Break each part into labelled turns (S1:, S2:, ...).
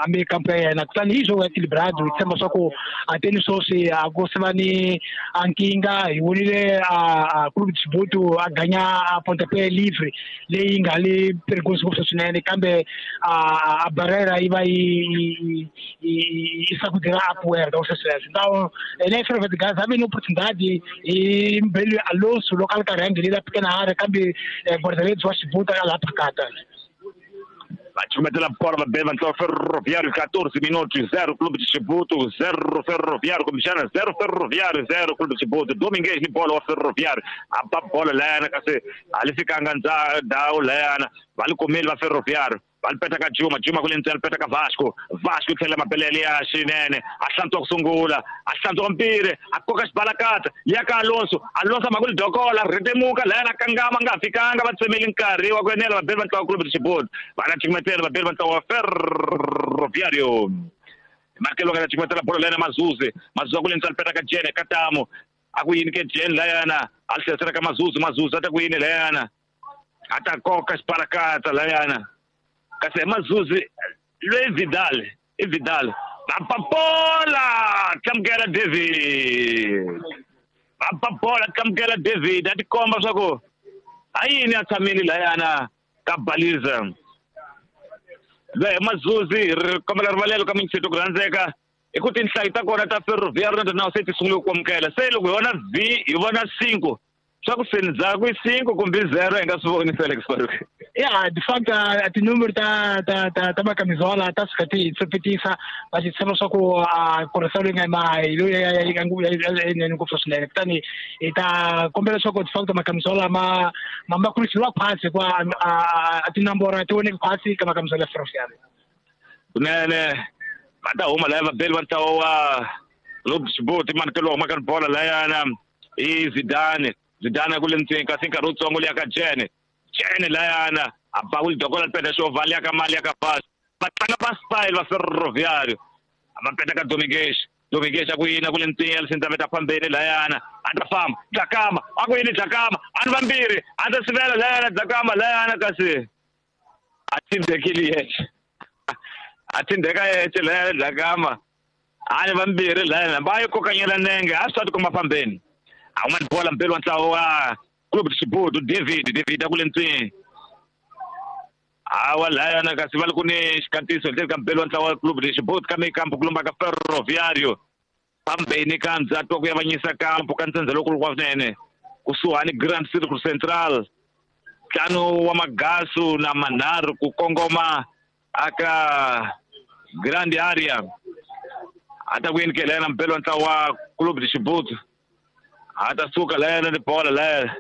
S1: a meio campo ya yena. Kutani hi jogo equilibrado hi tshemba swa ku a teni sweswi a ku se va ni a nkingha. Hi vonile a Clube de Chibuto a ganya a pontapé livre leyi nga le perigoso ngopfu swinene, kambe a barreira yi va yi sacudira a poeira sweswo. Então ene Ferroviário de Gaza a ve ni oportunidade hi Mbelu Alonso loko a ri karhi a nghenela pequena área, kambe guarda-redes wa Chibuto a la phakata.
S2: Va cumetela bola vabeli va ntlawa Ferroviário, 14 minutos, 0 Clube de Chibuto, 0 Ferroviário, kumbexana 0 Ferroviário, 0 Clube de Chibuto. Domingues ni bola wa Ferroviário, a ba bola layana kasi a li fikanga ndhawu layana, va li kumile va Ferroviário, va li peta ka Juma, Juma ku le ndzeni, peta ka Vasco, Vasco tlhela mapelele ya xinene, a hlantswa ku sungula, a hlantswa mpire, a koka xibalakata ya ka Alonso, Alonso ma ku li dokola, rhetemuka layana kangama nga fikanga, va tsemeli nkarhi wa ku enela vabeli va ntlawa Clube de Chibuto. Va na cumetela vabeli va ntlawa wa Ferroviário. Markelo nga cumetela bolo layana Mazuzi, Mazuzi ku le ndzeni peta ka Jene Katamo, a ku yini ke Jene layana, a tlherisela ka Mazuzi, Mazuzi a ta ku yini layana, a ta koka xibalakata layana. Kasi Mazuzi loyi Vidal, i Vidal va bola tlamukela David, va bola tlamukela David, a tikomba swa ku a yini a tshamile layana ka baliza. Loyi Mazuzi ri kombela rivalelo ka mintsheto ku rhandzeka hi ku tinhlayo ta kona ta Ferroviário na se ti sungule ku amukela. Se loko hi vona V hi vona 5, swa ku se ndzhaku i 5 kumbe 0 hi nga swi voni Felix Farouk.
S1: Ya, de facto a tinúmero ta macamisola ta suka ti tsepetisa, va xi tshemba swa ku a correção leyi nga ma hi loyi ya nga ngopfu swinene. Kutani hi ta kombela leswaku de facto macamisola ma kurisiwa khwatsi, hikuva a tinamboro a ti voneki khwatsi ka macamisola ya Ferroviário.
S2: Kunene va ta huma laya vabeli va ntlawa wa Clube de Chibuto, manikelo huma ka bola layana i Zidane, Zidane ku le ndzeni kasi nkarhi wutsongo liya ka Jene, Jene layana a ba ku lidokola peta xo vali ya ka mali ya ka Vasco, va tlanga va style va Ferroviário, va peta ka Domingues, Domingues a ku yini ku le ndzeni ya lisindzaveta fambeni layana, a ta famba Dlakama, a ku yini Dlakama, a ni vambirhi a ta sivela layana Dlakama layana kasi a tindekile yexe, a tindeka yexe layana Dlakama, a ni vambirhi layana va yi kokanyela nenge a swi ta tikomba fambeni. A huma ni bola mpelo wa ntlawa wa Clube de Chibuto, David, David a ku le ndzeni hawa layana kasi va li ku ni xikatiso ndzeni ka mpelo wa ntlawa wa Clube de Chibuto ka mikampo ku lomba ka Ferroviário pambeni ka ndzhaku wa ku yavanyisa kampo ka ntsendze lowukulu wa swinene kusuhani Grand Circle Central, ntlhanu wa magasu na manharhu ku kongoma aka Grand Area. A ta ku yini ke layana mpelo wa ntlawa wa Clube de Chibuto, a ta suka layana ni bola layana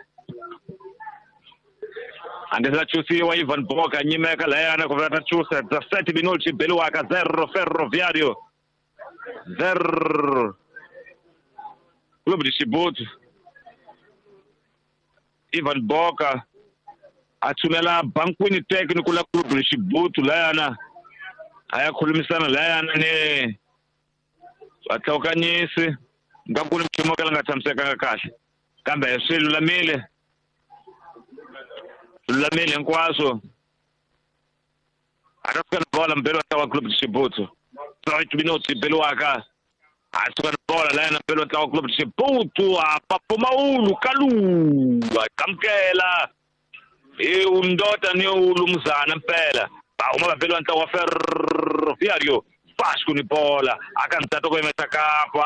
S2: a nga se chusiwa Ivan Boka nyimeka layana ku va ta chusa 7 minutos beliwaka 0 Ferroviário 0 Clube de Chibuto. Ivan Boka a tshunela bankwini técnico la Clube de Chibuto layana a ya khulumisana layana ni vatlhawukanyisi nga ku ni nchumu ka la nga tshamisekanga kahle, kambe swi lulamile, lulamile hinkwaswo. A ta suka ni bola mbelo wa Clube de Chibuto, 8 minutos beliwaka, a suka ni bola layana mbelo wa Clube de Chibuto, a papumawulu kalu a qamukela i undota ni ulumzana mpela, va huma vabeli va ntlawa wa Ferroviário. Vasco ni bola aka ndzhaku ko yimesa kampo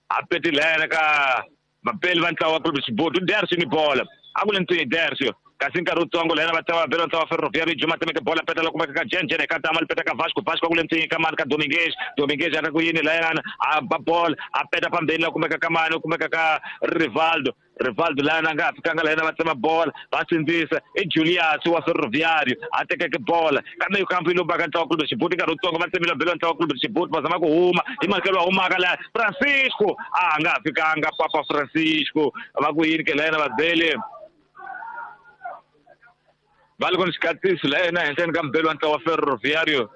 S2: a petilene ka vabeli va ntlawa wa Clube de Chibuto, Dercio ni bola a ku le ntsini Dercio kasi nkarhi wutsongo lena va ntlawa vabeli va ntlawa wa Ferroviário. Juma temeke bola peta la kumeka ka Jen, Jen ka tama li peta ka Vasco, Vasco ku le ntsini ka mani ka Domingues, Domingues a ta ku yini layana a ba bola a peta pambeni la kumeka ka mani kumeka ka Rivaldo, Rivaldo layana nga fikanga layana va tsema bola va sindzisa i Julius wa Ferroviário a tekeke bola kambe kampo yi lombaka ntlawa Clube de Chibuto. Nkarhi wutsongo va tsemile vabeli va ntlawa Clube de Chibuto va zama ku huma hi makelo wa humaka laya Francisco a nga fikanga Papa Francisco va ku yini ke layana vabeli va li ku ni xikatiso la yena henhleni ka mbeli wa ntlawa wa Ferroviário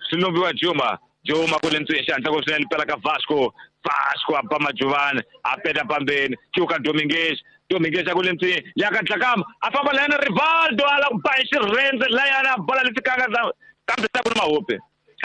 S2: swi lombiwa Juma, Juma ku le ndzeni xihatla ku swinene pela ka Vasco, Vasco a ba Majuvani a peta pambeni cuka Domingues, Domingues a ku le ndzeni ya ka Dlakama a famba layana Rivaldo a la ku ba hi xirhendze layana bola li fikanga kambe sa ku ni mahope.